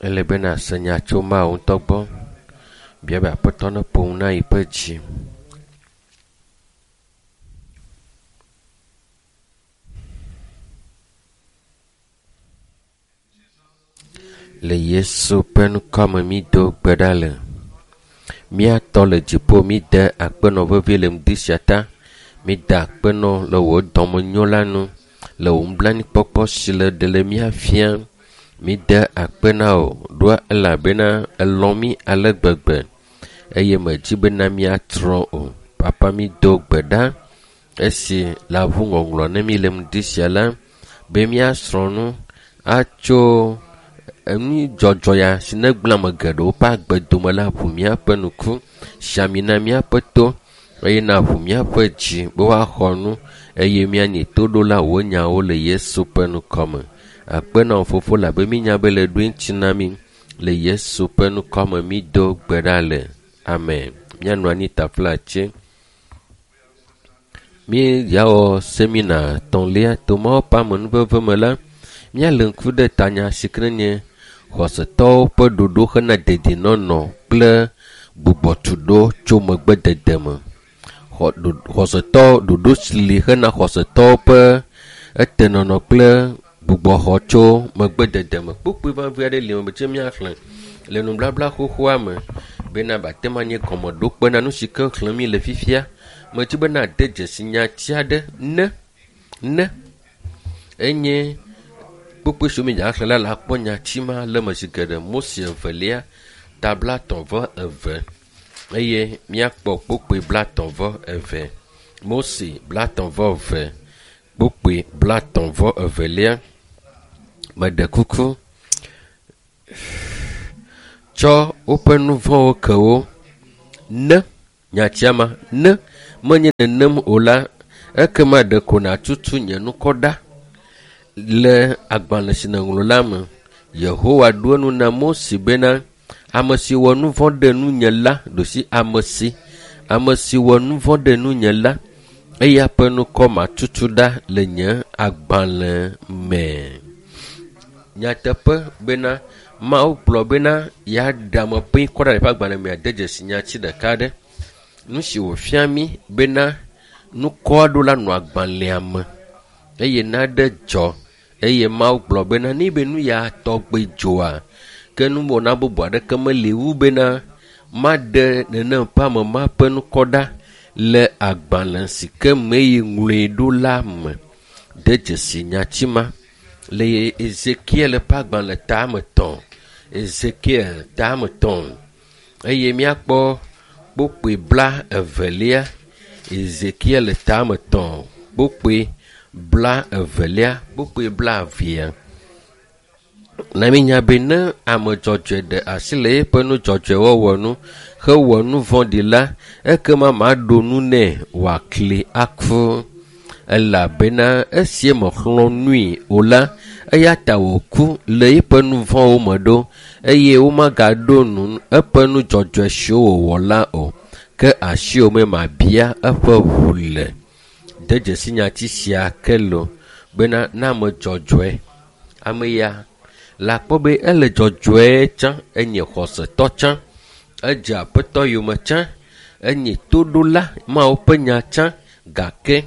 Ele be nàse nya tso Mawu ŋutɔ gbɔ. Bia be Aƒetɔ neƒo nu na yi ƒe dzi. Le Yesu ƒe ŋkɔ me mído gbe ɖa le. Mía Tɔ le dziƒo, míde akpe nɔ vevie le ŋdi sia ta. Mída akpe nɔ le wò dɔmenyo la nu, le wò nublanuikpɔkpɔ si le ɖe le mía fia. Míde akpe na wò ɖoa elabena èlɔ̃ mí ale gbegbe eye mèdi bena míatrɔ o. Papa mído gbe ɖa esi le aʋu ŋɔŋlɔ ne mí le ŋdi sia la be míasrɔ̃ nu atso enudzɔdzɔ ya si negblẽ ame geɖewo ƒe agbe dome la ʋu míaƒe ŋku, si ami na míaƒe to eye naʋu míaƒe dzi be woaxɔ nu eye míanyi toɖola wò nyawo le Yesu ƒe ŋkɔ me. Akpe na wò Fofo labe mínya be le ɖoe ŋuti na mí le Yesu ƒe ŋkɔ me mído gbe ɖa le. Amen. Míanɔ anyi taflatse. Míawɔ semina etɔ̃lia to Mawu ƒe amenuveve me la, míalé ŋku ɖe tanya si ke nye xɔsetɔwo ƒe ɖoɖo hena dedienɔnɔ kple gbugbɔtuɖo tso megbedede me. Xɔ, ɖo, xɔsetɔ ɖoɖo si li hena xɔsetɔwo ƒe etenɔnɔ kple gbugbɔxɔ tso megbedede me. Kpukpui vevi aɖe li me tse míaxlẽ le nubabla xoxoa me bena bate ŋu anye gɔmeɖokpe na nu si ke xlẽm mi le fifia. Medi be nade dzesi nyati aɖe ne ne enye kpukpui siwo mídzaxlẽ la le akpɔ nyati ma le eme zi geɖe. Mose evelia ta blatɔ̃ vɔ eve eye míakpɔ kpukpui blatɔ̃ vɔ eve. Mose blatɔ̃ vɔ eve kpukpui blatɔ̃ vɔ evelia. Meɖe kuku tsɔ woƒe nu vɔ̃wo ke wo ne nyatia ma ne menye nenem o la ekema ɖeko nàtutu nye ŋkɔ ɖa le agbalẽ si nèŋlɔ la me. Yehowa ɖo enu na Mose bena ame si wɔ nu vɔ̃ ɖe nunye la ɖosi ame si ame si wɔ nu vɔ̃ ɖe nunye la eya ƒe ŋkɔ matutu ɖa le nye agbalẽ me. Nyateƒe bena Mawu gblɔ bena yeaɖe ame ƒe ŋkɔ ɖa le eƒe agbalẽ me ade dzesi nyati ɖeka aɖe. Nu si wòfia mí bena ŋkɔ aɖewo la nɔ agbalẽa me eye naɖe dzɔ eye Mawu gblɔ bena ne be nu ya tɔgbe dzɔa, ke nuwɔna bubu aɖeke meli wu bena maɖe nenem ƒe ame ma ƒe ŋkɔ ɖa le agbalẽ si ke me yi ŋlɔe ɖo la me. De dzesi nyati ma le Ezekiel ƒe agbalẽ tame tɔ̃. Ezekiel tame tɔ̃ eye míakpɔ kpukpui bla evelia. Ezekiel tame tɔ̃ kpukpui bla evelia kpukpui bla evea. Na mínya be ne ame dzɔdzɔe ɖe asi le eƒe nu dzɔdzɔe wɔwɔ nu hewɔ nu vɔ̃ɖi la, ekema maɖo nu nɛ wòakli aku elabena esi mexlɔ̃ nui o la, eya ta wòku le eƒe nu vɔ̃wo me ɖo eye womagaɖo nu eƒe nu dzɔdzɔe siwo wòwɔ la o. Ke asiwò me mabia eƒe ʋu le. De dzesi nyati sia ke lo bena ne ame dzɔdzɔe ame ya le akpɔ be ele dzɔdzɔe tsã, enye xɔsetɔ tsã, edze aƒetɔ yome tsã, enye toɖola Mawu ƒe nya tsã gake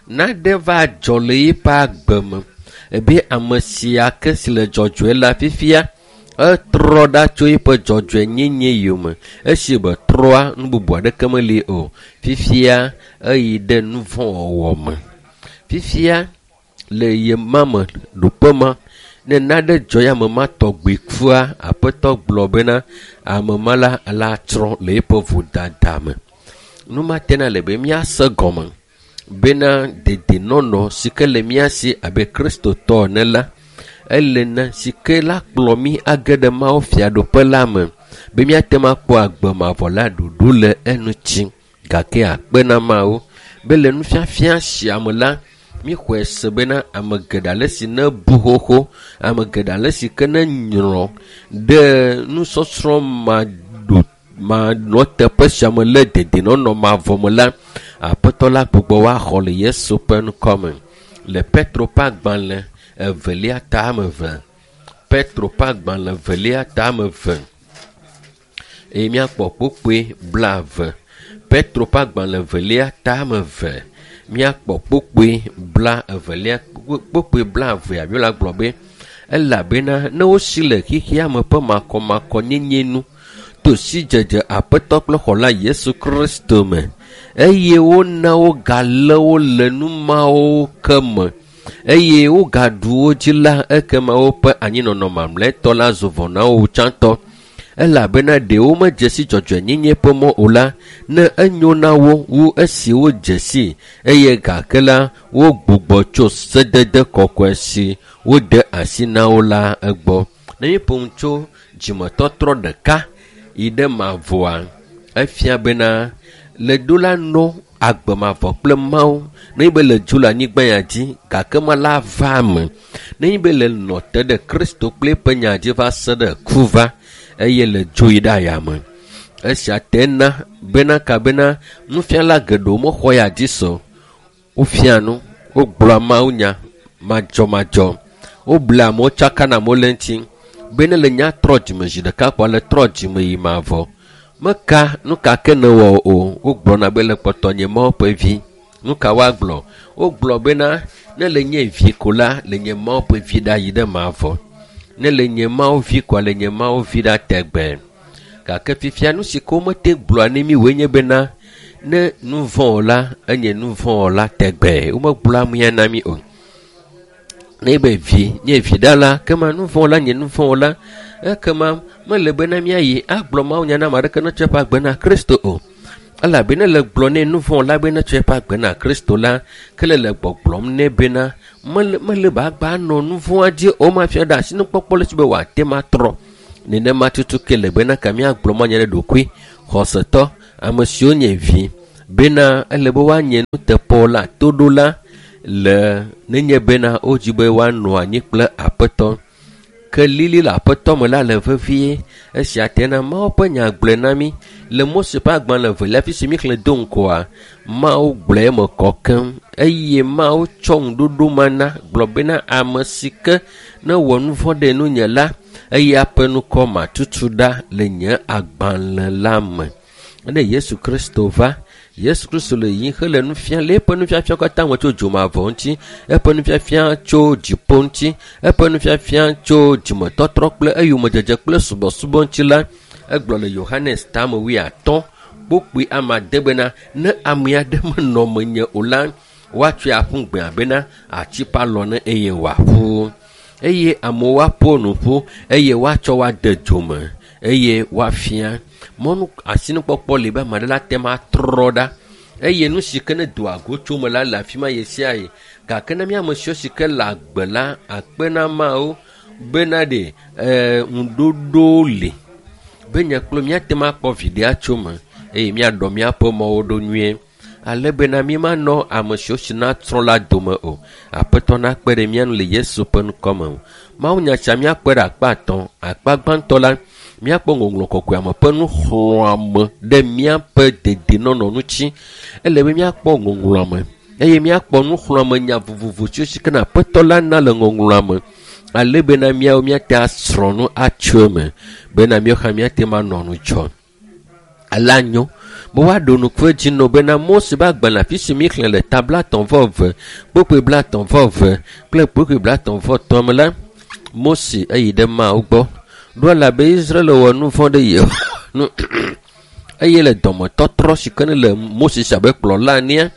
naɖe va dzɔ le eƒe agbe me ebe ame sia ke si le dzɔdzɔe la fifia etrɔ ɖa tso eƒe dzɔdzɔenyenye yome esi be trɔa nu bubu aɖeke meli o. Fifia eyi ɖe nu vɔ̃ wɔwɔ me. Fifia le ye ma me ɖoƒe ma ne naɖe dzɔ ya ame ma tɔgbi kua aƒetɔ gblɔ bena ame ma la la tsrɔ̃ le eƒe vodada me. Nu ma tena le be míase gɔme bena dedienɔnɔ si ke le mía si abe kristotɔ ene la ele na si ke la kplɔ mí age ɖe Mawu fiaɖuƒe la me be míate ŋu akpɔ agbe mavɔ la ɖuɖu le eŋuti gake akpe na Mawu be le nufiafia sia me la míxɔe se bena ame geɖe ale si ne bu xoxo ame geɖe ale si ke ne nyrɔ ɖe nusɔsrɔ̃ maɖo manɔ teƒe sia me le dedienɔnɔ mavɔ me la aƒetɔ la gbugbɔ woaxɔ le Yesu ƒe ŋkɔ me le Petro ƒe agbalẽ evelia tame eve. Petro ƒe agbalẽ velia tame 2 eye míakpɔ kpukpui 20. Petro ƒe agbalẽ velia tame 2 míakpɔ kpukpui 20, kpukpui 20 Biblia gblɔ be elabena ne wosi le xexea me ƒe makɔmakɔnyenye nu to sidzedze Aƒetɔ kple Xɔla Yesu Kristo me eye wona wogalé wo le nu mawo ke me eye wogaɖu wo dzi la, ekema woƒe anyinɔnɔ mamlɛtɔ la zu vɔ na wo tsãtɔ. Elabena ɖe womedze si dzɔdzɔenyenye ƒe mɔ o la, ne enyo na wo wu esi wodze si, eye gake la wogbugbɔ tso sedede kɔkɔe si wode asi na wo la egbɔ. Ne míeƒo nu tso dzimetɔtrɔ ɖeka yi ɖe mavɔa, efia bena le do la nɔ agbe mavɔ kple Mawu. Nenye be le dzo le anyigba ya dzi, gake ma la va eme. Nenye be le nɔ te ɖe Kristo kple eƒe nya dzi va se ɖe ku va, eye le dzo yi ɖe ayame. Esia te na bena kabena nufiala geɖewo mexɔ ya dzi se o. Wofia nu, wogblɔa Mawu nya madzɔmadzɔ, woblea amewo, tsakana amewo le eŋuti be ne le nya trɔ dzime zi ɖeka kpoa le trɔ dzime yi mavɔ. Meka nu ka ke ne wɔ o, wogblɔna be le kpɔtɔ nye Mawu ƒe vi. Nu ka woagblɔ? Wogblɔ bena ne le nye vi ko la, le nye Mawu ƒe vi ɖa yi ɖe mavɔ. Ne le nye Mawu vi koa, le nye Mawu vi ɖa tegbe. Gake fifia nu si ke womete gblɔa ne mi woe nye bena ne nu vɔ̃ o la, enye nu vɔ̃ o la tegbe. Womegblɔa amea na mi o. Ne be vi nye vi ɖa la, kema nu vɔ̃ la nye nu vɔ̃ o la, ekema mele bena míayi agblɔ Mawu nya na ame aɖeke ne tsɔ eƒe agbe na Kristo o. Elabena le gblɔ nɛ nu vɔ̃ la be ne tsɔ eƒe agbe na Kristo la, ke le le gbɔgblɔm nɛ bena mele be agba nɔ nu vɔ̃a dzi o, mafia ɖe asinukpɔkpɔ le si be wòate ma trɔ. Nenema tutu ke le bena ka míagblɔ Mawu nya ɖe ɖokui xɔsetɔ, ame siwo nye vi, bena ele be woanye nuteƒewɔla, toɖola le nenye bena wodzi be woanɔ anyi kple Aƒetɔ. Ke lili le Aƒetɔ me la le vevie. Esia te na Mawu ƒe nya gblɔe na mí le Mose ƒe agbalẽ velia fi si míexlẽ do ŋgɔa, Mawu gblɔe eme kɔ keŋ eye Mawu tsɔ ŋuɖoɖo ma na gblɔ bena ame si ke ne wɔ nu vɔ̃ ɖe nunye la, eya ƒe ŋkɔ matutu ɖa le nye agbalẽ la me. Ne Yesu Kristo va, Yesu Kristo le yiyim hele nu fiam le eƒe nufiafia katã me tso dzomavɔ ŋuti, eƒe nufiafia tso dziƒo ŋuti, eƒe nufiafia tso dzimetɔtrɔ kple eyomedzedze kple subɔsubɔ ŋuti la, egblɔ le Yohanes tame 50 kpukpui 8 bena ne ame aɖe menɔ menye o la, woatsɔe aƒu gbe abena ati ƒe alɔ ne eye wòaƒu. Eye amewo aƒo nu ƒu eye woatsɔ woade dzome eye woafia. Mɔnu asinukpɔkpɔ li be ame aɖe la te ma trɔ ɖa eye nu si ke ne doa go tso me la le afi ma ɣe sia ɣi. Gake ne míame siwo si ke le agbe la akpe na Mawu bena ɖe ŋuɖoɖo li be nye kple míate ŋu akpɔ viɖe atso me eye míaɖɔ míaƒe mɔwo ɖo nyuie ale bena mímanɔ ame siwo si na trɔ la dome o. Aƒetɔ nakpe ɖe mía ŋu le Yesu ƒe ŋkɔ me. Mawu nya sia míakpɔe ɖe akpa 3. Akpa gbãtɔ la, míakpɔ ŋɔŋlɔ kɔkɔeame ƒe nuxlɔ̃ame ɖe míaƒe dedienɔnɔ ŋuti. Ele be míakpɔ ŋɔŋlɔa me eye míakpɔ nuxlɔ̃ame nya vovovo siwo si ke na Aƒetɔ la na le ŋɔŋlɔa me ale bena míawo míate asrɔ̃ nu atso eme bena míawo hã míate ŋu anɔ ŋudzɔ. Ale anyo be woaɖo ŋku edzi nɔ bena Mose ƒe agbalẽ afi si míexlẽ le ta 32 kpukpui 32 kple kpukpui 33 me la, Mose eyi ɖe Mawu gbɔ ɖo elabe Israel wɔ nu vɔ̃ ɖe Yehowa nu eye le dɔmetɔtrɔ si ke ne le Mose si abe kplɔla enea,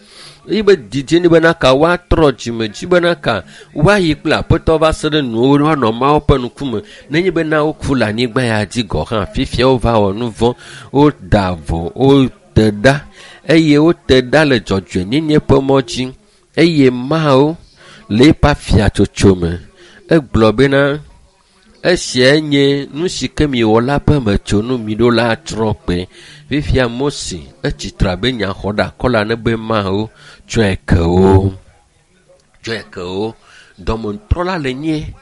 eye be didi ni bena ka woatrɔ dzime dzi bena ka woayi kple Aƒetɔ va se ɖe nuwo woanɔ Mawu ƒe ŋkume. Nenye bena woku le anyigba ya dzi gɔ̃ hã, fifia wova wɔ nu vɔ̃, woda vo, wote ɖa eye wote ɖa le dzɔdzɔenyenye ƒe mɔ dzi eye Mawu le eƒe afiatsotso me. Egblɔ bena esiae nye nu si ke miwɔ la ƒe metsonu miɖo la trɔ kpe. Fifia Mose etsi tre abe nyaxɔɖeakɔla ne be Mawu tsɔe ke wo. Tsɔe ke wo. Dɔmetrɔla le nye.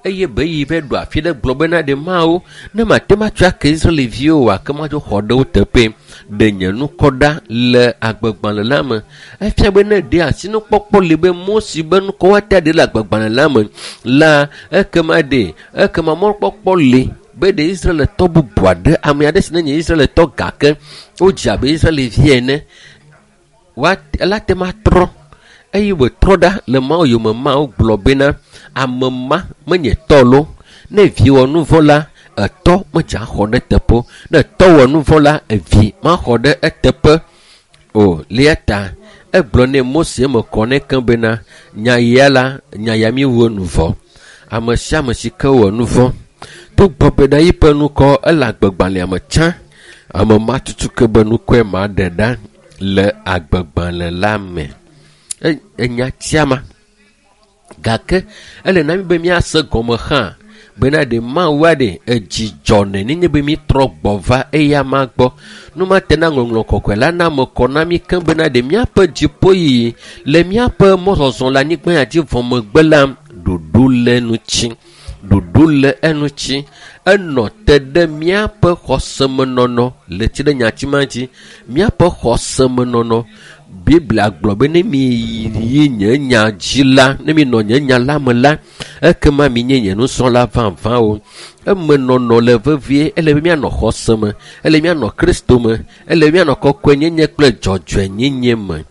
Eye be yi va ɖo afi ɖe gblɔ bena ɖe Mawu, ne mate ŋu atsɔ ake Israelviwo oa, ke madzo xɔ ɖe wo teƒe. Ɖe nye ŋkɔ ɖa le agbegbalẽ la me. Efia be ne ɖe asinukpɔkpɔ li be Mose be ŋkɔ woate ɖe le agbegbalẽ la me la, ekema ɖe ekema mɔkpɔkpɔ li be ɖe Israeltɔ bubu aɖe, ame aɖe si nenye Israeltɔ gake wodzi abe Israelvi ene, woate ela te ŋu atrɔ eye wòtrɔ ɖa le Mawu yome. Mawu gblɔ bena ame ma menye tɔ lo. Ne vi wɔ nu vɔ̃ la, etɔ medze axɔ ɖe eteƒe o. Ne etɔ wɔ nu vɔ̃ la, evi maxɔ ɖe eteƒe o. Lia ta egblɔ nɛ Mose eme kɔ nɛ keŋ bena nya ya la, nya ya mi wɔ nu vɔ̃. Ame sia ame si ke wɔ nu vɔ̃ togbɔ bena yiƒe ŋkɔ ele agbegbalẽa me tsã, ame ma tutu ke be ŋkɔe ma ɖe ɖa le agbegbalẽ la me. Enya tia ma. Gake ele na mi be míase gɔme hã bena ɖe Mawu aɖe edzi dzɔnɛ nenye be mítrɔ gbɔ va eya ma gbɔ. Nu ma te na ŋɔŋlɔ kɔkɔe la na ame kɔ na mí keŋ bena ɖe míaƒe dziƒoyiyi le míaƒe mɔzɔzɔ le anyigba ya dzi vɔ megbe la, ɖoɖo le eŋuti. Ɖoɖo le eŋuti. Enɔ te ɖe míaƒe xɔsemenɔnɔ le tsi ɖe nyati ma dzi. Míaƒe xɔsemenɔnɔ. Biblia gblɔ be ne mi yi nye nya dzi la, ne mi nɔ nye nya la me la, ekema mi nye nye nusrɔ̃la vavãwo. Emenɔnɔ le vevie, ele be míanɔ xɔse me, ele míanɔ Kristo me, ele míanɔ kɔkɔenyenye kple dzɔdzɔenyenye me.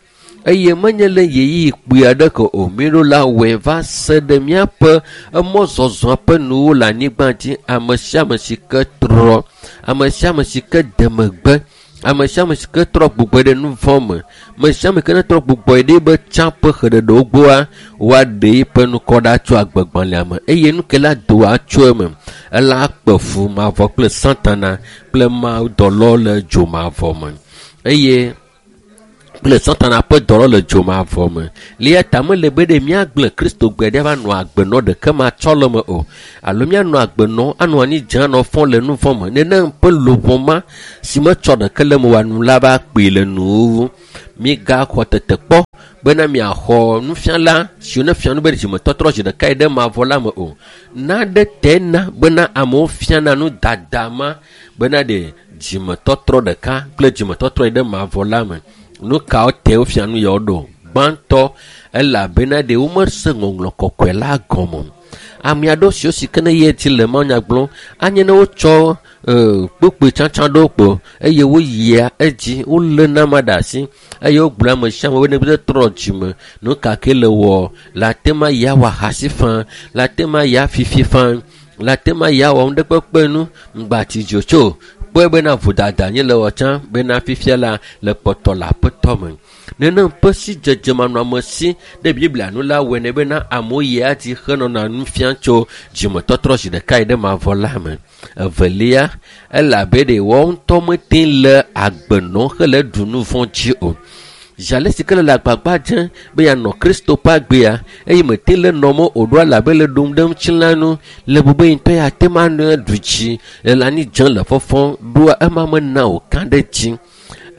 Eye menye le ɣeyiɣi kpui aɖeke o, míɖo la wɔe va se ɖe míaƒe emɔzɔzɔ ƒe nuwo le anyigba dzi. Ame sia ame si ke trɔ, ame sia ame si ke de megbe, ame sia ame si ke trɔ gbugbɔ ɖe nu vɔ̃ me, ame sia ame ke ne trɔ gbugbɔ ɖe be tsã ƒe xeɖeɖewo gbɔa, woaɖe yiƒe ŋkɔ ɖa tso agbegbalẽa me eye nu ke la doa tso eme. Ela kpe fu mavɔ kple Satana kple mawudɔlawo le dzo mavɔ me. Eye kple Satana ƒe dɔlɔ le dzo mavɔ me. Le ta mele be ɖe míagblẽ Kristo gbe ɖe va nɔ agbenɔ ɖeke matsɔ le me o. Alo míanɔ agbenɔ anɔ anyi dze anɔ fɔ le nu vɔ̃ me. Nenem ƒe luʋɔ ma si metsɔ ɖeke le me wɔ nu la va kpee le nuwuwu. Mígaxɔ tetekpɔ bena miaxɔ nufiala siwo ne fia nu be dzimetɔtrɔ zi ɖeka yi ɖe mavɔ la me o. Naɖe te na bena amewo fiana nu dada ma bena ɖe dzimetɔtrɔ ɖeka kple dzimetɔtrɔ yi ɖe mavɔ la me. Nu kawo te wofia nu yawo ɖo? Gbãtɔ, elabena ɖe womese ŋɔŋlɔ kɔkɔe la gɔme o. Ame aɖewo siwo si ke ne yi edzi le mawunya gblɔm, anye ne wotsɔ kpukpui tsãtsã ɖewo kpo eye woyia edzi, woléna ame ɖe asi eye wogblɔ ame sia ame be ne trɔ dzime, nu ka ke le wɔ, le ate ŋu ayi awɔ ahasi faa, le ate ŋu ayi afifi faa, le ate ŋu ayi awɔ nu ɖe kpekpe nu, ŋgbati dzo tso. Kpɔe bena vodada nye le wɔ tsã bena fifia la le kpɔtɔ le aƒetɔ me. Nenem ƒe si dzedze manɔamesi ɖe Biblia nu la wɔe nɛ bena amewo yia dzi henɔna nu fiam tso dzimetɔtrɔ zi ɖeka yi ɖe mavɔ la me. Evelia, elabe ɖe woawo ŋutɔ mete le agbe nɔm hele ɖu nu vɔ̃ dzi o. Zi ale si ke le agbagba dzem be yeanɔ Kristo ƒe agbea eye mete le nɔm o ɖo elabe le ɖum ɖe ŋutilã nu le bu be ye ŋutɔ yeate ŋu anɔ ɖu dzi le anyi dzem le fɔfɔm ɖoa ema mena wòka ɖe dzi.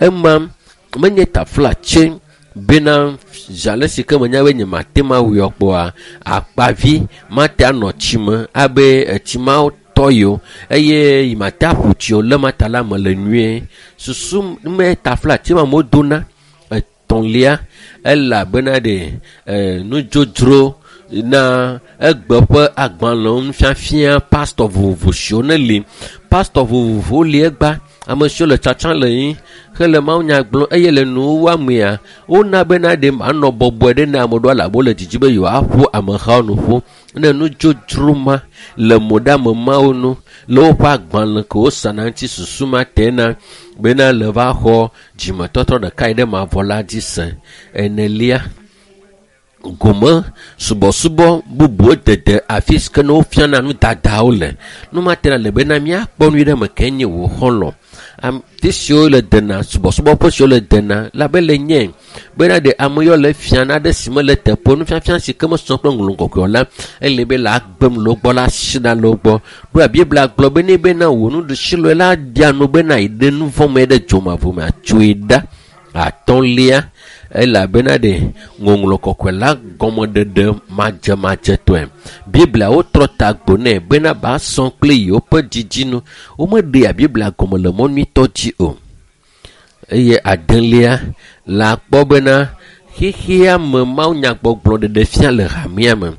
Ema menye taflatse bena zi ale si ke menya be nyemate ŋu awui o kpoa, akpavi mate anɔ tsi me abe etsi mawo tɔ yi o eye yi mate aƒu tsi o le ma ta la me le nyuie. Susu me taflatse ma amewo dona. Etɔ̃lia, elabena ɖe nudzodzro na egbe ƒe agbalẽwo nufiafia pastɔ vovovo siwo ne li. Pastɔ vovovowo li egba, ame siwo le tsatsa le anyi hele mawunya gblɔm eye le nuwuwua mea, wona bena ɖe manɔ bɔbɔe ɖe na ame ɖewo elabe wole didi be yewoaƒo amehawo nu ƒu. Ne nudzodzro ma le mo ɖe ame mawo nu le woƒe agbalẽ ke wosana ŋuti susu ma te na bena le va xɔ dzimetɔtrɔ ɖeka yi ɖe mavɔ la dzi se. Enelia, gome subɔsubɔ bubuwo dede afi si ke ne wofiana nu dadawo le. Nu ma te le bena míakpɔ nu ɖe me ke nye wò xɔlɔ̃. Ame siwo le dena subɔsubɔƒe siwo le dena la be le nye bena ɖe ame yiwo le fia naɖe si mele teƒe nufiafia si ke mesɔ kple ŋlɔ kɔkɔe o la, ele be le agbem le wo gbɔ la asi ɖa le wo gbɔ. Ɖoa Biblia gblɔ be ne bena wò nuɖusi lɔe la ɖia nu bena yi ɖe nu vɔ̃ me ɖe dzomavɔ me atsoe ɖa. Atɔ̃lia, Elabena ɖe ŋɔŋlɔ kɔkɔe la gɔmeɖeɖe madzemadzetɔe. Biblia wotrɔ ta gbo nɛ bena ba sɔ kple yewoƒe dzidzinu. Womeɖea Biblia gɔme le mɔ nyuitɔ dzi o. Eye adelia la kpɔ bena xexea me mawunyagbɔgblɔ ɖeɖe fia le hamea me.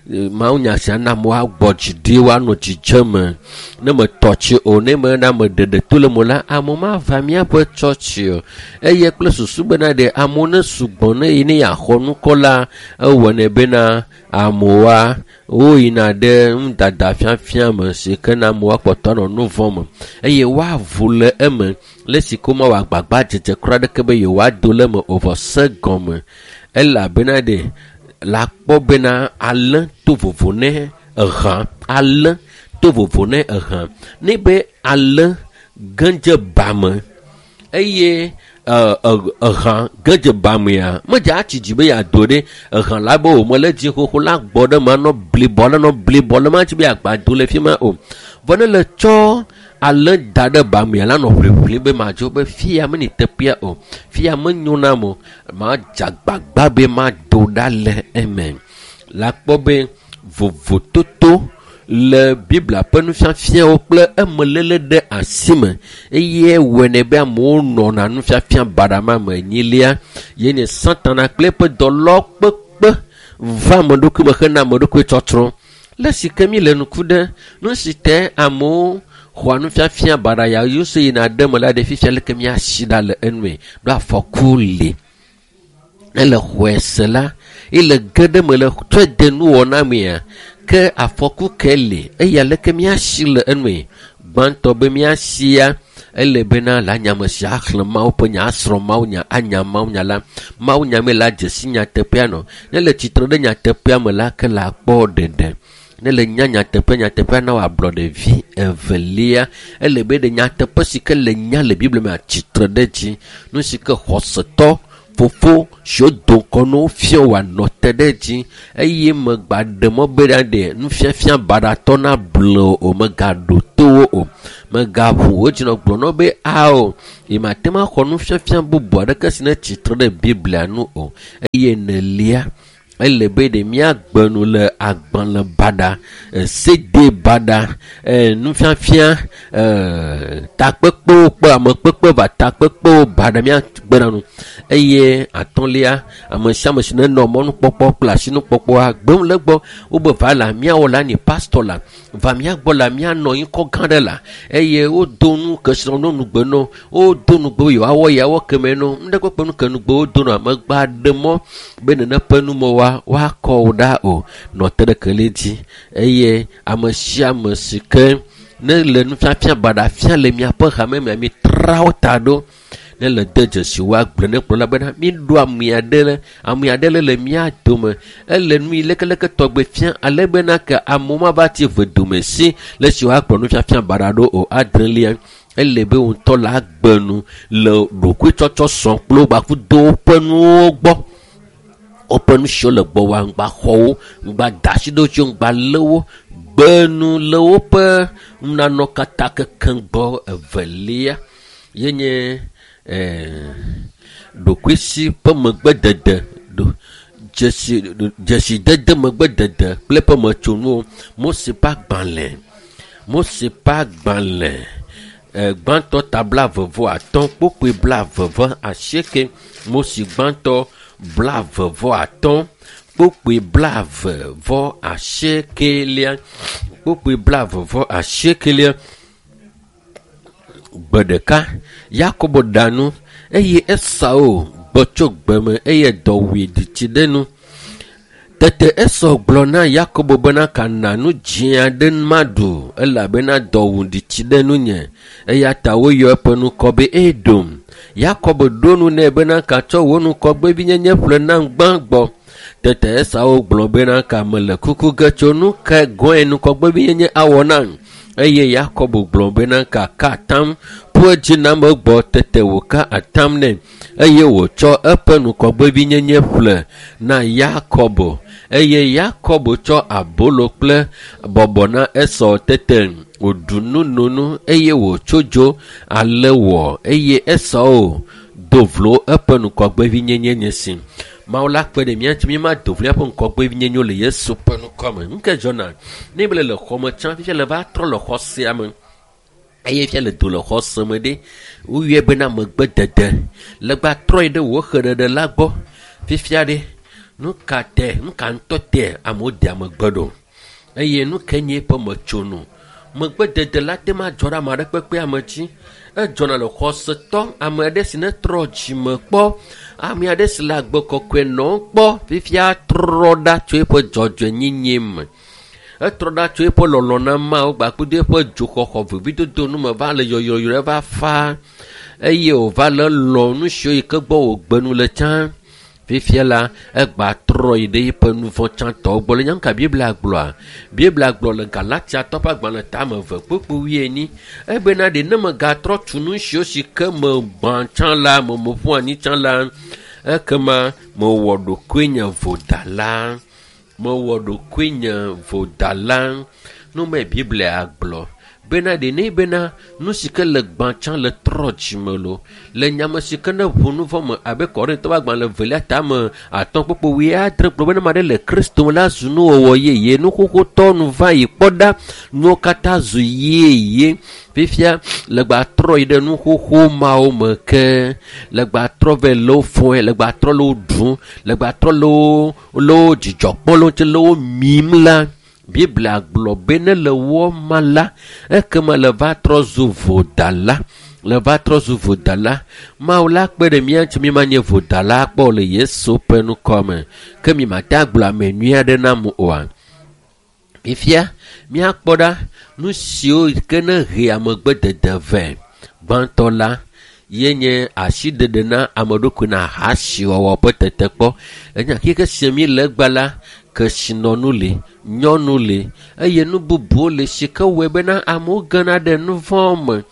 Mawunya sia na amewo agbɔ dzi ɖi woanɔ dzidzeme. Ne metɔ tsi o, ne mena ame ɖeɖe to le mo la, amewo mava míaƒe tsɔtsi o. Eye kple susu bena ɖe amewo ne sugbɔ ne yi ne yeaxɔ nukɔ la, ewɔnɛ bena amewoa woyina ɖe nudada fiafia me si ke na amewo akpɔtɔ anɔ nu vɔ̃ me eye woavo le eme le si ke womawɔ agbagba dzedze kura ɖeke be yewoado le eme o vɔ se gɔme elabena ɖe la kpɔ bena alẽ to vovo ne ehã alẽ to vovo ne ehã ne be alẽ ge dze ba me eye ehã ge dze ba mea medze atsi dzi be yeado ɖe ehã la be o mele dzi xoxo la gbɔ ɖe me anɔ blibɔ la nɔ blibɔ la matsi be yeagba do le fi ma o. Vɔ ne le tsɔ alẽ da ɖe ba mea la nɔ ʋliʋlim be madzo be fia meni teƒea o, fia menyo nam o, madze agbagba be mado ɖa le eme. La kpɔ be vovototo le Biblia ƒe nufiafiawo kple emeléle ɖe asi me eye wɔnɛ be amewo nɔna nufiafia baɖa ma me. Enyilia ye nye Satana kple eƒe dɔlɔkpekpe va ame ɖokui me hena ame ɖokui tsɔtsrɔ̃. Le si ke mi le ŋku ɖe nu si te amewo xɔa nufiafia baɖa ya Yesu yina ɖe me la ɖe fifia leke míasi ɖa le enue ɖo afɔku li. Ne le xɔe se la, ele ge ɖe me le tsɔe de nuwɔna mea, ke afɔku ke li eye aleke míasi le enue. Gbãtɔ be míasia ele bena le anyame sia axlẽ Mawu ƒe nya, asrɔ̃ Mawu nya, anya Mawu nya la. Mawu nya me la dze si nyateƒea nɔ. Ne le tsitre ɖe nyateƒea me la, ke la kpɔ ɖeɖe. Ne le nya nyateƒe, nyateƒea na wò ablɔɖevi. Evelia, ele be ɖe nyateƒe si ke le nya le Biblia me atsitre ɖe dzi. Nu si ke xɔsetɔ fofo siwo do ŋgɔ na wo fia wòanɔ te ɖe dzi eye megba ɖe mɔ be ɖe nufiafia baɖatɔ nable o, megaɖo to wo o, megaʋu wo dzi nɔ gblɔ na wo be ao, yemate ŋu axɔ nufiafia bubu aɖeke si ne tsitre ɖe Biblia nu o. Eye enelia, ele be ɖe míagbe nu le agbalẽ baɖa, CD baɖa, nufiafia, takpekpewo kple amekpekpe va takpekpewo baɖa míagbe na nu. Eye atɔ̃lia, ame sia ame si nenɔ mɔnukpɔkpɔ kple asinukpɔkpɔa gbem le egbɔ wobe va la míawɔ la ni pastor la va míagbɔ la míanɔ ŋkɔ gã ɖe la eye wodo nu kesinɔnu nugbe no wodo nugbe yewoawɔ yeawɔ keme no nuɖe kpekpe nu ke nugbe wodo no amegba ɖe mɔ be nene ƒe numɔwoa woakɔ wo ɖa o nɔ te ɖe kele dzi eye ame sia ame si ke ne le nufiafia baɖa fia le miaƒe hame mea mitra wo ta ɖo. Ne le de dzesi woagblɔ ne kplɔla bena míɖo ame aɖe le mía dome ele nu yi lekeleke tɔgbe fia ale bena ke amewo mava tsi vedome si le si woakplɔ nufiafia baɖa ɖo o. Adrelia, ele be ŋutɔ la agbe nu le ɖokuitsɔtsɔ sɔ kple wo gbakudo woƒe nuwo gbɔ. Woƒe nu siwo le gbɔ woa ŋgba xɔ wo, ŋgba da asi ɖe wo dzi, ŋgba lé wo, gbe nu le woƒe nunanɔ katã kekeŋ gbɔ. Evelia ye nye ɖokuisi ƒe megbedede, dzesidede megbedede kple eƒe metsonuwo. Mose ƒe agbalẽ, Mose ƒe agbalẽ gbãtɔ ta 35 kpokpoe 28. Mose gbãtɔ 35 kpokpoe 28 kpokpoe 28. Gbe ɖeka Yakobo ɖa nu eye Esau gbɔ tso gbe me eye dɔ wui ɖi tsi ɖe nu. Tete Esau gblɔ na Yakobo bena kana nu dzĩ aɖe maɖu elabena dɔ wui ɖi tsi ɖe nunye. Eya ta woyɔ eƒe ŋkɔ be Edom. Yakobo ɖo nu nɛ bena katsɔ wò ŋgɔgbevinyenye ƒle nam gbã gbɔ. Tete Esau gblɔ bena ka mele kuku ge tso nu ke gɔ̃e ŋgɔgbevinyenye awɔ nam. Eye Yakobo gblɔ bena kaka atam ƒu edzi nam egbɔ. Tete wòka atam nɛ eye wòtsɔ eƒe ŋgɔgbevinyenye ƒle na Yakobo. Eye Yakobo tsɔ abolo kple bɔbɔ na Esau. Tete wòɖu nu no nu eye wòtso dzo ale wɔ. Eye Esau do vlo eƒe ŋgɔgbevinyenye nye si. Mawu la kpe ɖe mía ŋuti mímado vlo míaƒe ŋgɔgbevinyenye le Yesu ƒe ŋkɔ me. Nu ke dzɔna ne be le xɔ me tsã fifia le va trɔ le xɔ sia me eye fia le do le xɔ se me ɖe woyɔe bena megbedede legba trɔ yi ɖe wò xeɖeɖe la gbɔ fifia ɖe nu ka te nu ka ŋutɔ te amewo dea megbe ɖo eye nu ke nye eƒe metsonu megbedede la te ma dzɔ ɖe ame aɖe kpekpe ame dzi edzɔna le xɔsetɔ ame aɖe si ne trɔ dzime kpɔ ame aɖe si le agbe kɔkɔe nɔm kpɔ fifia trɔ ɖa tso eƒe dzɔdzɔenyenye me etrɔ ɖa tso eƒe lɔlɔ na Mawu gbakple eƒe dzoxɔxɔ vevidodo nu me va le yɔyɔyɔ va fa eye wòva le lɔ nu siwo yi ke gbɔ wògbe nu le tsã fifia la egba trɔ yi ɖe eƒe nu vɔ̃ tsãtɔwo gbɔ le nya ka Biblia gblɔa Biblia gblɔ le Galatiatɔ ƒe agbalẽ tame eve kpukpu wuienyi ebena ɖe ne megatrɔ tu nu siwo si ke me gbã tsã la me meƒu anyi tsã la ekema mewɔ ɖokuinye vodala mewɔ ɖokuinye vodala nu me Biblia gblɔ bena ɖe ne bena nu si ke le gbã tsã le trɔ dzime lo le nyame si ke ne ʋu nu vɔ me abe Korintɔ ƒe agbalẽ evelia tame atɔ̃ kpukpu wuiadre gblɔ bena ame aɖe le Kristo me la zu nuwɔwɔ yeye nuxoxotɔ nu va yi kpɔ ɖa nuwo katã zu yeye fifia legba trɔ yi ɖe nuxoxo mawo me ke legba trɔ vɛ le wo fɔe legba trɔ le wo ɖum legba trɔ le wo le wo dzidzɔ kpɔm le wo ŋuti le wo mim la Biblia gblɔ be ne le wɔ ma la ekema le va trɔ zu vodala le va trɔ zu vodala Mawu la kpe ɖe mía ŋuti mímanye vodala kpɔ le Yesu ƒe ŋkɔ me ke mi mate agblɔ ame nyui aɖe na mu oa fifia míakpɔ ɖa nu siwo ke ne he amegbedede vɛ gbãtɔ la ye nye asiɖeɖe na ame ɖokui na ahasiwɔwɔ ƒe tetekpɔ enya keke si mi le egba la kesinɔnu li nyɔnu li eye nu bubuwo le si ke wɔe bena amewo gena ɖe nu vɔ̃ me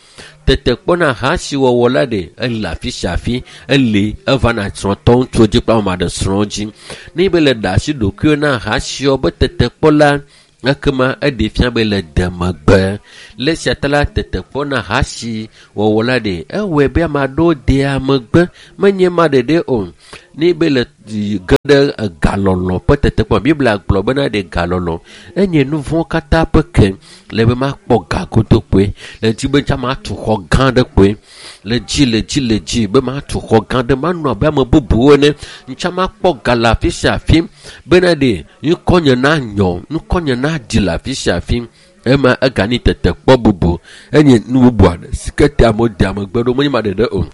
tetekpɔ na ahasiwɔwɔ la ɖe ele afi sia afi ele evana srɔ̃tɔ ŋutsuwo dzi kple ame aɖe srɔ̃wo dzi ne be le ɖe asi ɖokuiwo na ahasiwɔ be tetekpɔ la ekema eɖe fia be le de megbe le esia ta la tetekpɔ na ahasiwɔwɔ la ɖe ewɔe be ame aɖewo dea megbe menye ma ɖeɖe o ne be le ge ɖe galɔlɔ ƒe tetekpɔ Biblia gblɔ bena ɖe galɔlɔ enye nu vɔ̃ katã ƒe ke le be makpɔ ga godokpoe le dzi be tsã matu xɔ gã ɖe kpoe le dzi le dzi le dzi be matu xɔ gã ɖe manɔ abe ame bubuwo ene ŋtsã makpɔ ga le afi sia afi bena ɖe ŋkɔnye na nyɔ ŋkɔnye na dzi le afi sia afi ema egani tetekpɔ bubu enye nu bubu aɖe si ke te amewo dea megbe ɖo menye ma ɖeɖe o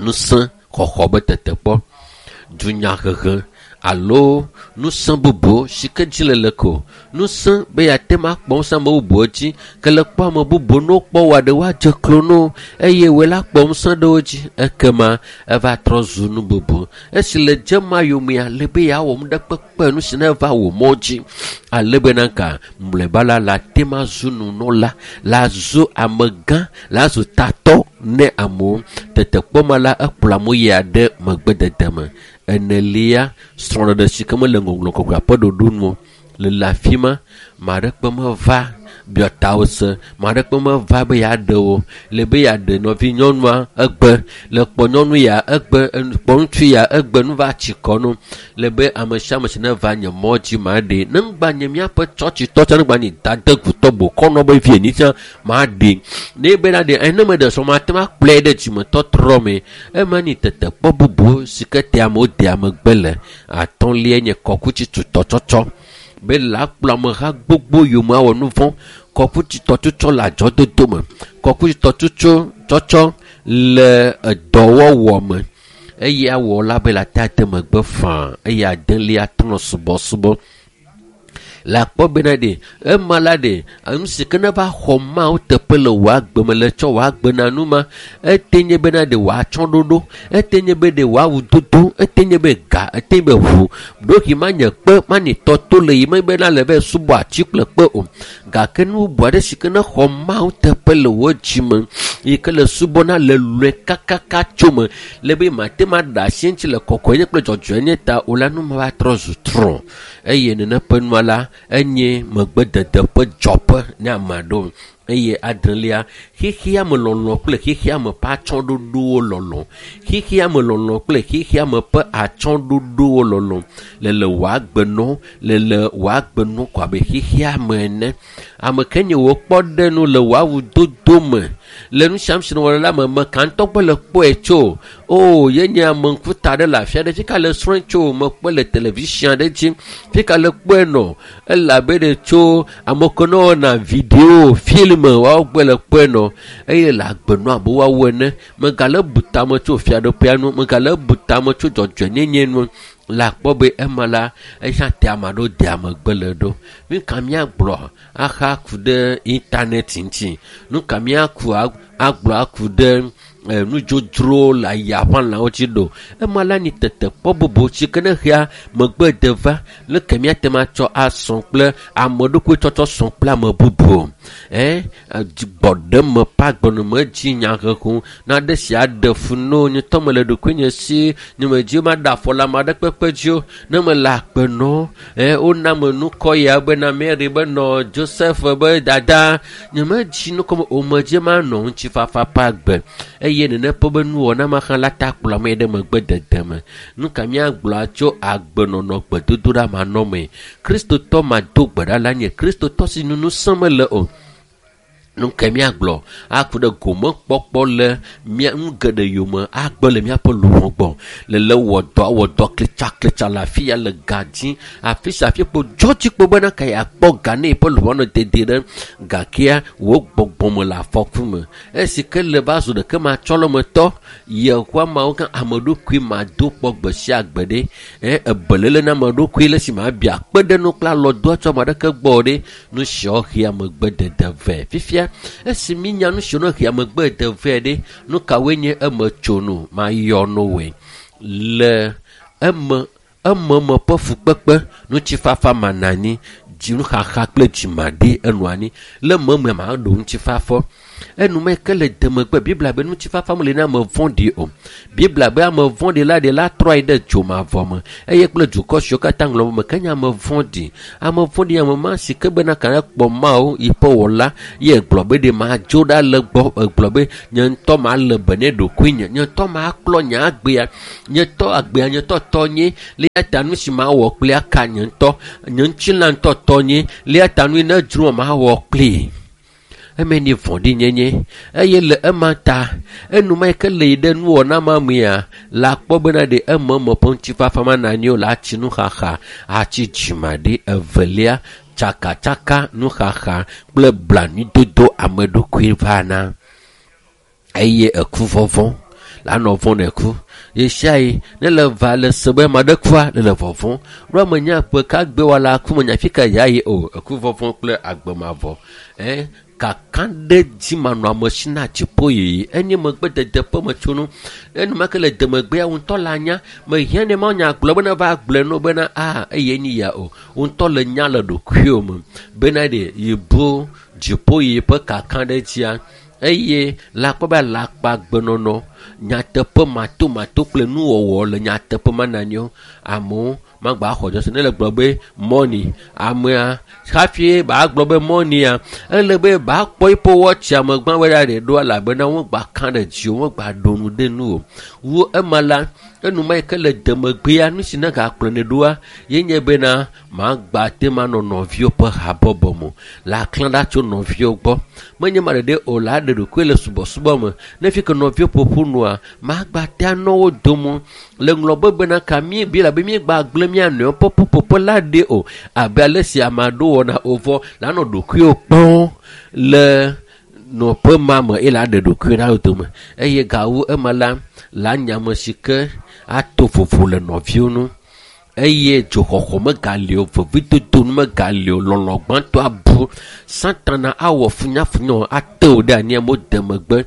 ŋusẽ xɔxɔ be tetekpɔ dunyahehe alo ŋusẽ bubu si ke dzi le le ko ŋusẽ be yeate ma kpɔ ŋusẽ ame bubuwo dzi ke le kpɔ ame bubuwo ne wokpɔ wɔ ɖe woadze klo no eye wòe la kpɔ ŋusẽ ɖe wo dzi ekema eva trɔ zu nu bubu esi le dze ma yomea le be yeawɔ nu ɖe kpekpe nu si ne va wò mɔ dzi ale bena ka mlɔeba la la te ma zu nunɔla la zu amegã la zu tatɔ ne amewo tetekpɔ ma la ekplɔ amewo yia ɖe megbedede me enelia srɔ̃ɖeɖe si ke mele ŋɔŋlɔ kɔkɔea ƒe ɖoɖo nu o le le afi ma ame aɖe kpe meva biɔtawo se ame aɖe kpe meva be yeaɖe wo le be yeaɖe nɔvi nyɔnua egbe le kpɔ nyɔnu ya egbe kpɔ ŋutsu ya egbe nu va tsi kɔ no le be ame sia ame si ne va nye mɔ dzi ma ɖe ne ŋgba nye míaƒe tsɔtsitɔ tsã ne ŋgba nye dadegutɔ bokɔnɔ be vie ni tsã ma ɖe ne be na ɖe ene me ɖe srɔ̃ ma te ma kplɔe ɖe dzimetɔtrɔ me ema ni tetekpɔ bubu si ke te amewo dea megbe le atɔ̃lia nye kɔkuti tutɔtsɔtsɔ be la kplɔ ameha gbogbo yome awɔ nu vɔ̃ kɔkuti tɔtsɔtsɔ le adzɔdodo me kɔkuti tɔtsɔtsɔ tsɔtsɔ le edɔwɔwɔ me eye awɔ la be la te ade megbe faa eye adelia trɔ subɔsubɔ le akpɔ bena ɖe ema la ɖe nu si ke ne va xɔ Mawu teƒe le wò agbe me le tsɔ wò agbe na nu ma ete nye bena ɖe wòatsɔ ɖoɖo ete nye be ɖe wòawu dodo ete nye be ga ete nye be ʋu ɖohi manye kpe manye tɔto le yi me bena le be subɔ ati kple kpe o gake nu bubu aɖe si ke ne xɔ Mawu teƒe le wò dzi me yi ke le subɔna le lɔe kakaka tso me le be mate ma ɖe asi ŋuti le kɔkɔenye kple dzɔdzɔenye ta o la nu ma va trɔ zu trɔ̃ eye nene ƒe nua la enye megbedede ƒe dzɔƒe ne ame aɖewo Eye adrelia, xexea me lɔlɔ kple xexea me ƒe atsyɔ̃ɖoɖowo lɔlɔ. Xexea me lɔlɔ kple xexea me ƒe atsyɔ̃ɖoɖowo lɔlɔ. Le le wò agbenɔ, le le wò agbenɔ ko abe xexea me ene. Ame ke nye wò kpɔɖenu le wò awudodo me, le nu sia nu si nèwɔna la me, me ka ŋutɔ gbɔ le kpɔe tso? O, ye nye ame ŋkuta ɖe le afi aɖe, fi ka le srɔ̃e tso? Mekpɔe le television aɖe dzi. Fi ka le kpɔe nɔ? Elabe ɖe tso ame ke ne wɔna video, film, woawo gbɔe le kpɔe nɔ. Eye le agbenɔ abe woawo ene. Megale bu tame tso fiaɖuƒea nu, megale bu tame tso dzɔdzɔenyenye nu. Le akpɔ be ema la, eya te ame aɖewo dea megbe le ɖo. Nu ka míagblɔ axa ku ɖe internet ŋuti? Nu ka míaku agblɔ aku ɖe nudzodzrowo le ayaʋãlawo dzi ɖo? Ema la nyi tetekpɔ bubu si ke ne xea megbe de va leke míate ŋu atsɔ asɔ kple ame ɖokui tsɔtsɔ sɔ kple ame bubu. Gbɔɖeme ƒe agbenɔme dzi nyaheho naɖe si aɖe fu no nye ŋutɔ mele ɖokuinye si nye medzi maɖe afɔ le ame aɖe kpekpe dzi o. Ne mele akpe nɔ wona me nukɔ ya bena Mary be nɔ Joseph be dada nye medzi nukɔ me o medzi manɔ ŋutifafa ƒe agbe eye nene ƒe be nuwɔna ma hã la ta kplɔ ame ɖe megbe dede me. Nu ka míagblɔ tso agbenɔnɔ gbedodoɖa manɔmee? Kristotɔ mado gbe ɖa la nye Kristotɔ si nu ŋusẽ mele o. Nu ke míagblɔ aku ɖe gomekpɔkpɔ le mía nu geɖe yome agbe le míaƒe luʋɔ gbɔ. Le le wɔ dɔ awɔ dɔ klitsaklitsa le afi ya le ga dzi afi sia afi kpo dzɔdzikpo bena ka yeakpɔ ga ne yeƒe luʋɔ nɔ dedie ɖe gakea wò gbɔgbɔme le afɔku me. Esi ke le va zu ɖeke matsɔlɔmetɔ yehowa mawo gã ame ɖokui mado kpɔ gbe sia gbe ɖe. Ebelele na ame ɖokui le si ma bia kpe ɖe nu kple alɔdoa tso ame aɖeke gbɔ ɖe. Nu siawo hea megbe dede vɛ. Fifia esi mínya nu siwo hea megbe de vɛ ɖe, nu kawoe nye eme tsonu mayɔ nowoe? Le eme me ƒe fukpekpe, ŋutifafa mana anyi, dzinuxaxa kple dzimaɖi enɔ anyi. Le meme maɖo ŋutifafa. Enume ke le demegbe Biblia be ŋutifafa meli na ame vɔ̃ɖi o. Biblia be ame vɔ̃ɖi la ɖe la trɔ ayi ɖe dzomavɔ me eye kple dukɔ siwo katã ŋlɔ me ke nye ame vɔ̃ɖi. Ame vɔ̃ɖi ame ma si ke bena ka kpɔ Mawu yi ƒe wɔla ye gblɔ be ɖe madzo ɖa le gbɔ egblɔ be nye ŋutɔ male be ne ɖokuinye, nye ŋutɔ maklɔ nye agbea, nye ŋutɔ agbea nye ŋutɔ tɔnye le ya ta nu si mawɔ kple aka nye ŋutɔ, nye ŋutilã ŋutɔ tɔnye le ya ta nu yi ne dzro mawɔ kpli. Eme ni vɔ̃ɖinyenye eye le ema ta enuma yi ke le yi ɖe nuwɔna ma mea le akpɔ bena ɖe eme me ƒe ŋutifafa mana anyi o le atsi nuxaxa atsi dzimaɖi evelia tsakatsaka nuxaxa kple blanuidodo ame ɖokui vana eye eku vɔvɔ̃ la nɔ vɔ̃ ne ku ɣesiaɣi ne le va le se be ame aɖe kua le le vɔvɔ̃ ɖo ame nya ƒe ka gbe wɔla ku menya fi ka ya yi o eku vɔvɔ̃ kple agbemavɔ kakaɖedzi manɔamesi na dziƒo yiyi enye megbedede ƒe metsonu enumake le demegbea ŋutɔ le anya mehiã ne ma nya gblɔ bena va gblɔe no bena a eye nyi ya o ŋutɔ le nya le ɖokuiwo me bena ɖe yibo dziƒo yiyi ƒe kakaɖedzia eye le akpɔ be alakpagbenɔnɔ nyateƒe matomato kple nuwɔwɔ le nyateƒe mana anyi o amewo magba xɔ dzɔsi ne le gblɔ be mɔni amea hafi ba gblɔ be mɔnia ele be ba kpɔ eƒe wɔtsi ame gbã be ɖe ɖo elabena wogba ka ɖe dzi o wogba ɖo nu ɖe nu o wu ema la enuma yi ke le demegbea nu si ne gakplɔ ne ɖoa ye nye bena magba te ma nɔ nɔviwo ƒe habɔbɔ me le aklã ɖa tso nɔviwo gbɔ menye ma ɖeɖe o la ɖe ɖokui le subɔsubɔ me ne fi ke nɔviwo ƒoƒu nua magba te anɔ wo dome le ŋlɔ be bena ka mí bi labe míegba gblẽ mía nɔewo ƒe ƒuƒoƒe la ɖe o abe ale si ame aɖewo wɔna o vɔ la nɔ ɖokuiwo kpɔm le nɔƒe ma me eye la ɖe ɖokui ɖa wo dome eye gawu ema la la nya ame si ke ato vovo le nɔviwo nu eye dzoxɔxɔ megali o vevidodo nu megali o lɔlɔ gbãtɔ abu satana awɔ funyafunya ate wo ɖe anyi amewo de megbe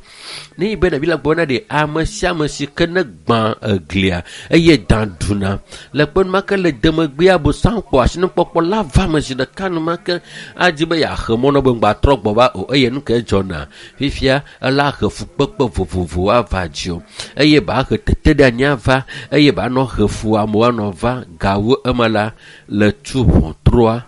ne yi be ɖevi la gbɔ na ɖe ame sia ame si ke ne gbã eglia eye da ɖuna le kpe numake le demegbea bosam kpɔ asinukpɔkpɔ la va ame zi ɖeka numake adzi be yeaxe mɔ nɔ be ŋgba trɔ gbɔ va o eye nu ke dzɔna fifia ela he fukpekpe vovovowo ava dzi o eye ba he tete ɖe anyi ava eye ba nɔ he fu amewo anɔ va gawu ema la le tu ʋɔtrua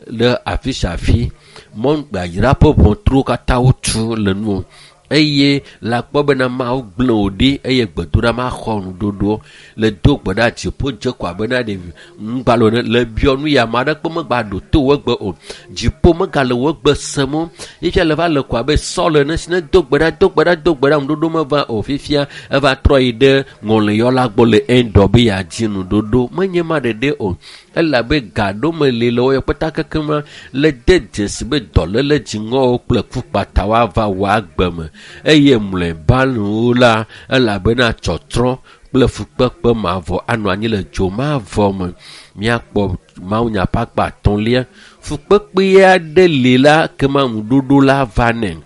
le afi sia afi. Mɔnu yayra ƒe ʋɔtruwo katã wotu le nuwò eye le akpɔ bena Mawu gblẽ wò ɖi eye gbedoɖa maxɔ nuɖoɖo le do gbe ɖa dziƒo dze ko abe na ɖevi ŋgbalo ene le biɔ nu ya ame aɖeke megba ɖo to wò egbe o. Dziƒo megale wò egbe sem o. Fifia le va le ko abe Saul ene si ne do gbe ɖa do gbe ɖa do gbe ɖa ŋuɖoɖo meva o. Fifia eva trɔ yi ɖe ŋɔliyɔla gbɔ le Endor be yeadzi nuɖoɖo. Menye ma ɖeɖe o. Elabe ga ɖo meli le woyɔ kpata kekema le de dzesi be dɔléle dziŋɔwo kple kukpatawo ava wò agbe me eye mlɔeba nuwo la elabena tsɔtrɔ kple fukpekpe mavɔ anɔ anyi le dzo mavɔ me. Míakpɔ mawunya ƒe akpa atɔ̃lia. Fukpekpe aɖe li la kema ŋuɖoɖo la va nɛ.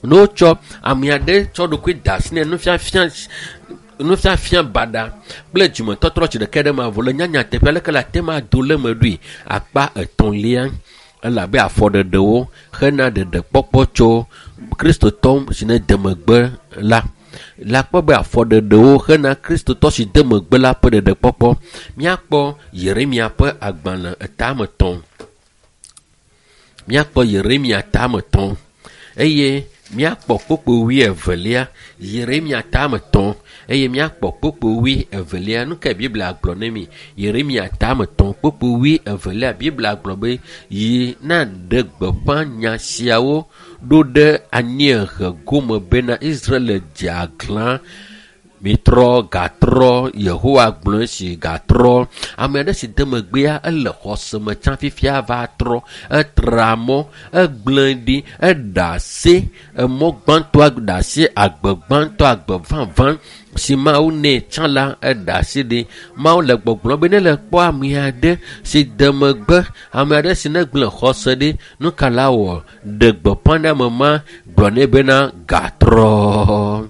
Ne wotsɔ ame aɖe tsɔ ɖokui da asi nɛ nufiafia baɖa kple dzimetɔtrɔ tsi ɖeka ɖe mavɔ le nyanya teƒe aleke le ate ma do le me ɖoe akpa etɔ̃lia elabe afɔɖeɖewo hena ɖeɖekpɔkpɔ tso kristotɔ si ne de megbe la. Le akpɔ be afɔɖeɖewo hena kristotɔ si de megbe la ƒe ɖeɖekpɔkpɔ. Míakpɔ Yeremia ƒe agbalẽ etame tɔ̃. Míakpɔ Yeremia tame tɔ̃ eye míakpɔ kpokpo wuievelia. Yeremia tame tɔ̃ eye míakpɔ kpokpo wuievelia. Nu kae Biblia gblɔ ne mi? Yeremia tame tɔ̃ kpokpo wuievelia. Biblia gblɔ be yi na ɖe gbeƒã nya siawo ɖo ɖe anyiehe gome bena Israel dze aglã. Mitrɔ gatrɔ Yehowa gblɔ esi gatrɔ. Ame aɖe si de megbea ele xɔse me tsã fifia va trɔ. Etra mɔ, egblẽ ɖi, eɖe asi emɔ gbãtɔa ɖe asi agbe gbãtɔ agbe vavã si Mawu nɛ tsã la eɖe asi ɖi. Mawu le gbɔgblɔm be ne le kpɔ ame aɖe si de megbe, ame aɖe si ne gblẽ xɔse ɖi, nu ka la wɔ? Ɖe gbeƒã ɖe ame ma gblɔ nɛ bena gatrɔ.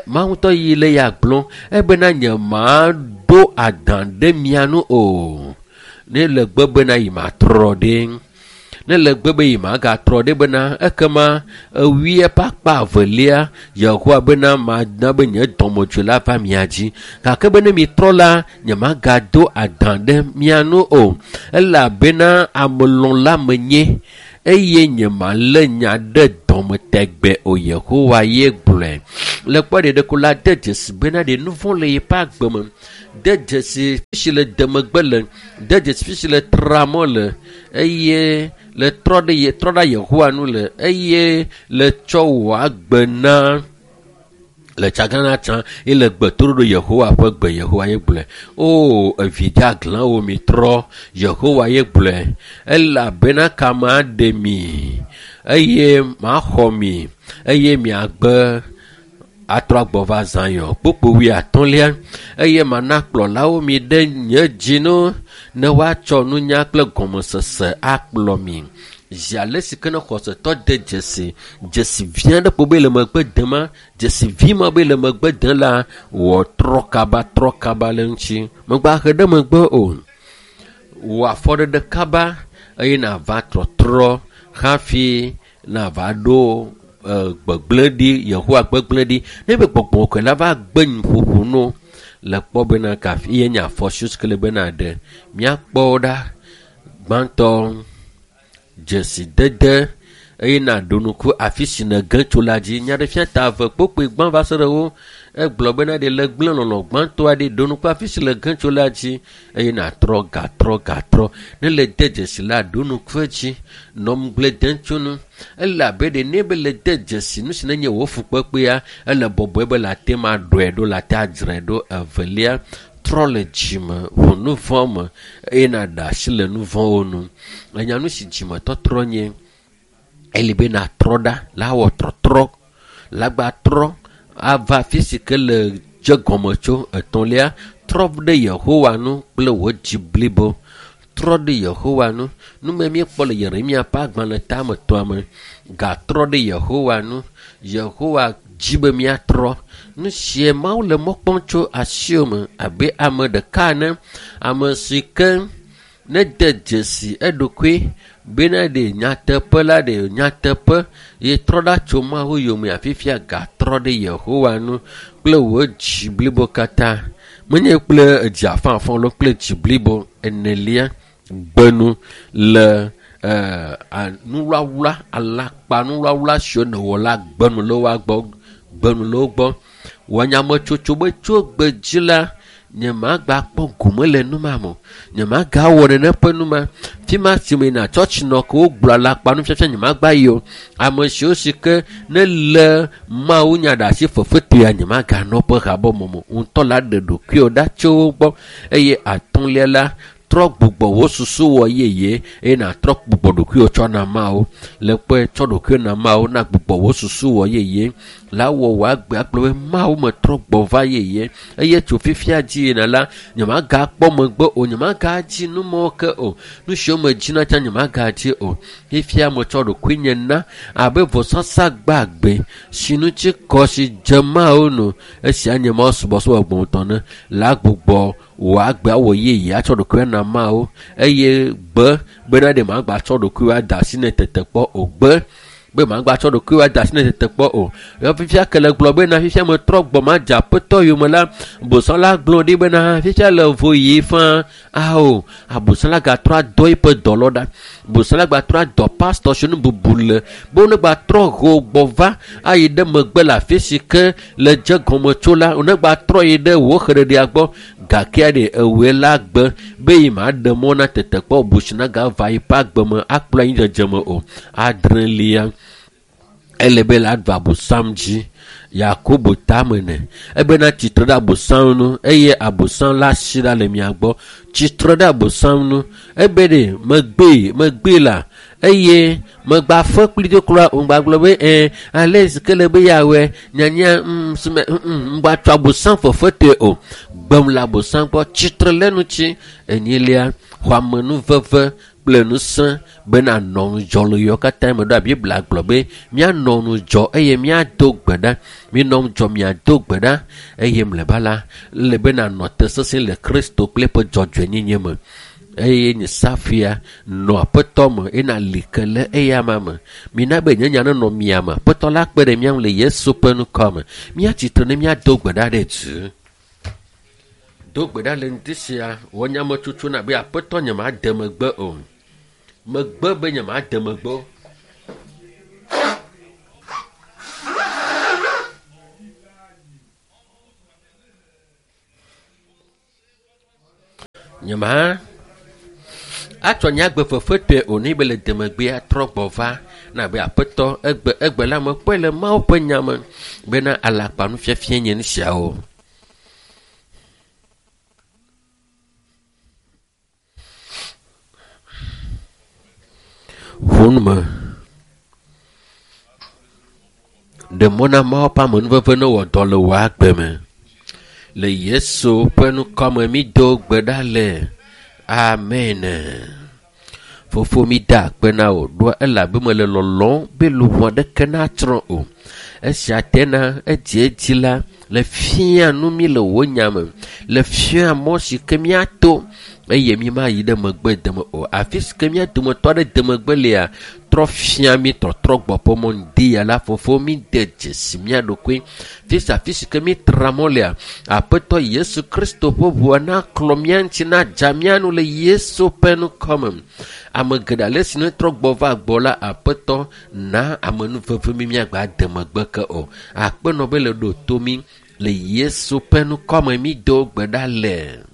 Mawu ŋutɔ yi le ya gblɔm ebena nye maɖo adã ɖe mia nu o. Ne le gbe bena yi matrɔ ɖe. Ne le gbe be yi magatrɔ ɖe bena ekema ewui eƒe akpa evelia Yehowa bena mana be nye dɔmedzoe la va mia dzi. Gake be ne mitrɔ la nye magado adã ɖe mia nu o. Elabena amelɔ̃la menye eye nye malé nya ɖe dɔme tegbe o. Yehowa ye gblɔe. Le kpɔ ɖeɖeko la de dzesi bena ɖe nu vɔ̃ le yeƒe agbe me. De dzesi fi si le demegbe le, de dzesi fi si le tramɔ le eye le trɔ ɖe ye trɔ ɖa Yehowa nu le eye le tsɔ wò agbe na le tsagana tsã ye le gbe toɖoɖo Yehowa ƒe gbe. Yehowa ye gblɔe. O evi dzeaglãwo mitrɔ. Yehowa ye gblɔe. Elabena kame aɖe mi eye maxɔ mi eye miagbe atrɔ agbɔ va Zion. Kpokpo wuiatɔ̃lia eye mana kplɔlawo mi ɖe nye dzi nu ne woatsɔ nunya kple gɔmesese akplɔ mi. Zi ale si ke ne xɔsetɔ de dzesi dzesi vi aɖe kpo be le megbe dem dzesi vi ma be le megbe dem la wɔ trɔ kaba le ŋuti. Megba he ɖe megbe o. Wɔ afɔɖeɖe kaba eye nava trɔtrɔ hafi nava ɖo gbegblẽ ɖi Yehowa gbegblẽ ɖi. Ne be gbɔgbɔ kɔkɔe la va gbe nuƒoƒo no le kpɔ bena kafi ye nye afɔ si ke le bena ɖe míakpɔ ɖa gbãtɔ dzesidede eye naɖo ŋku afi si nège tso la dzi. Nyaɖefia ta eve kpokpoe gbã va se ɖe wo egblɔ bena ɖe le gblẽ lɔlɔ gbãtɔa ɖi ɖo ŋku afi si le ge tso la dzi eye natrɔ gatrɔ ne le de dzesi la ɖo ŋku edzi nɔ ŋugble dem tso nu. Elabe ɖe ne be le de dzesi nu si nenye wò fukpekpea ele bɔbɔe be le ate ma ɖɔe ɖo le ate adzrae ɖo. Evelia trɔ le dzime ʋu nu vɔ̃ me eye naɖe asi le nu vɔ̃wo nu. Enya nu si dzimetɔtrɔ nye eli be natrɔ ɖa la wɔ trɔtrɔ la gba trɔ ava afi si ke le dze gɔme tso. Etɔ̃lia trɔ ɖe Yehowa nu kple wò dzi blibo. Trɔ ɖe Yehowa nu. Nume míekpɔ le Yeremia ƒe agbalẽ tame tɔa me. Gatrɔ ɖe Yehowa nu. Yehowa dzi be míatrɔ. Nu sie Mawu le mɔ kpɔm tso asiwò me abe ame ɖeka ene. Ame si ke ne de dzesi eɖokui bena ɖe nyateƒe la ɖe nyateƒe ye trɔ ɖa tso Mawu yome afifia gatrɔ ɖe Yehowa nu kple wò dzi blibo katã. Menye kple edzi afãafã alo kple dzi blibo. Enelia gbenu le Nuwlawla, alakpa nuwlawla siwo nèwɔ la gbenu le woa gbɔ, gbenu le wo gbɔ. Wɔ nyametsotso be tso gbe dzi la, nyemagba kpɔ gome le nu ma me o. Nyemagawɔ nene ƒe nu ma. Fi ma si me yina tsɔtsi nɔ ke wogblɔ alakpa nufiafia nyemagba yi o. Ame siwo si ke ne le Mawu nya ɖe asi fefetoea nyemaganɔ woƒe habɔbɔ me o. Ŋutɔ la ɖe ɖokuiwò ɖa tso wo gbɔ eye atɔ̃lia la trɔ gbugbɔ wò susu wɔ yeye eye nàtrɔ gbugbɔ ɖokuiwò tsɔ na Mawu. Le kpɔe tsɔ ɖokuiwò na Mawu na gbugbɔ wò susu wɔ yeye la wɔ wò agbe agblɔ be Mawu metrɔ gbɔ va yeye eye tso fifia dzi yina la nyemagakpɔ megbe o, nyemagadzi nu mawo ke o. Nu siwo medzina tsã nyemagadzi o. Fifia metsɔ ɖokuinye na abe vɔsasa gbagbe si ŋuti kɔ si dze Mawu nu. Esia nye Mawu subɔsubɔ gbɔgbɔmetɔ ne la gbugbɔ wò agbe awɔ yeye atsɔ ɖokuiwò na Mawu eye gbe bena ɖe magba tsɔ ɖokuiwò ade asi ne tetekpɔ o. Gbe be magba tsɔ ɖokuiwò ade asi ne tetekpɔ o. Ya fifia ke le gblɔ bena fifia metrɔ gbɔ madze aƒetɔ yome la, bosã la gblɔ ɖi bena fifia le vo yi faa. Ao, abosã la gatrɔ adɔ eƒe dɔlɔ ɖa. Bosã la gatrɔ adɔ pastɔ si nu bubu le be wonegbatrɔ ho gbɔ va ayi ɖe megbe le afi si ke le dze gɔme tso la, wonegbatrɔ yi ɖe wò xeɖeɖea gbɔ gakea ɖe ewɔe la gbe be yi ma ɖe mɔ na tetekpɔ busi nagava yi ƒe agbe me akplɔ anyi dzedzeme o. Adrelia, ele be la ɖu abosam dzi. Yakobo tame ne ebena tsitre ɖe abosam nu eye abosam la si ɖa le mia gbɔ. Tsitre ɖe abosam nu ebe ɖe megbee megbee la eye megba fe kpli do kura o ŋgba gblɔ be ale si ke le be yeawɔe nyanya sume ŋgba tsɔ abosam fefetɔe o. Gbem le abosam gbɔ tsitre le ŋuti. Enyilia, xɔ amenuveve kple ŋusẽ bena nɔ ŋudzɔ le yewo katã me. Ɖoa Biblia gblɔ be míanɔ ŋudzɔ eye míado gbe ɖa. Míenɔ ŋudzɔ míado gbe ɖa eye mlɔeba la ele be nanɔ te sesẽ le Kristo kple eƒe dzɔdzɔenyenye me. Eye nye safia nɔ aƒetɔ me eye nali ke le eya ma me. Mina be nye nya nenɔ mia me. Aƒetɔ la kpe ɖe mía ŋu le Yesu ƒe ŋkɔ me. Míatsitre ne míado gbe ɖa ɖe dzi. Do gbe ɖa le ŋdi sia wɔ nyametsotso na be aƒetɔ nyemade megbe o. Megbe be nyemade megbe o. Nyema atsɔ nye agbe fefetɔe o ne be le demegbea trɔ gbɔ va na be aƒetɔ egbe egbe la mekpɔe le Mawu ƒe nya me bena alakpa nufiafia nye nu siawo. Ʋu nu me. Ɖe mɔ na Mawu ƒe amenuveve ne wɔ dɔ le wò agbe me. Le Yesu ƒe ŋkɔ me mi do gbe ɖa le. Amen. Fofo mi da akpe na wò ɖoa elabe mele lɔlɔ̃m be luʋɔ aɖeke natsrɔ̃ o. Esia tena edziedzi la le fia nu mi le wò nya me, le fia mɔ si ke míato eye mi ma yi ɖe megbe deme o. Afi si ke mía dometɔ aɖe de megbe lea, trɔ fia mi tɔtrɔ gbɔ ƒe mɔ ŋdi ya la fofo mi de dzesi mía ɖokui. Fi sia afi si ke mi tra mɔ lea, Aƒetɔ Yesu Kristo ƒe ʋua naklɔ mía ŋuti nadza mía nu le Yesu ƒe ŋkɔ me. Ame geɖe ale si ne trɔ gbɔ va gbɔ la, Aƒetɔ na amenuveve mi míagba de megbe ke o. Akpenɔ be le ɖo to mi le Yesu ƒe ŋkɔ me mi do gbe ɖa le.